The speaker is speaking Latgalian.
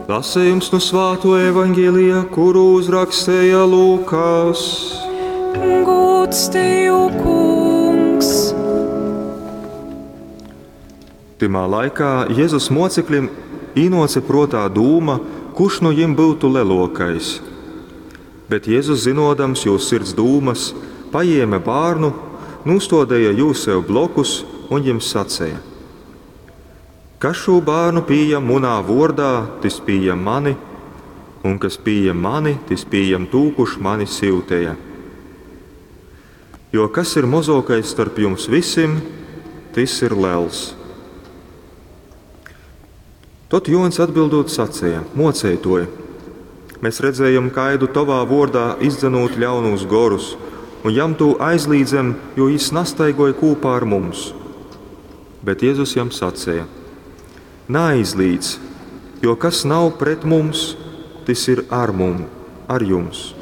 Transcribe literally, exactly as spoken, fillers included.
Lasījums nu svāto evaņģēlija, kuru uzrakstīja Lūkas. Gods tev, Kungs! Tymā laikā Jēzus mocekļiem īnoce protā dūma, kurš nu jim būtu lielākais. Bet Jēzus, zinodams jū sirds dūmas, paņēma bērnu, nūstādīja jū sev blokus un jim sacīja: Kas šo bērnu pieņem munā vordā, tis pieņem mani, un kas pieņem mani, tis pieņem tū, kurš mani syutēja. Jo kas ir mozokais starp jums visim, tis ir lels. Tad Jons atbildot sacīja: Mocētoji, mēs redzējam kaidu tavā vordā izdzenūt ļaunus gorus, un jam tū aizlīdzem, jo jis nastaigoja kūpā ar mums. Bet Jēzus jam sacīja: Neaizlīdz, jo kas nav pret mums, tas ir ar mum, ar jums.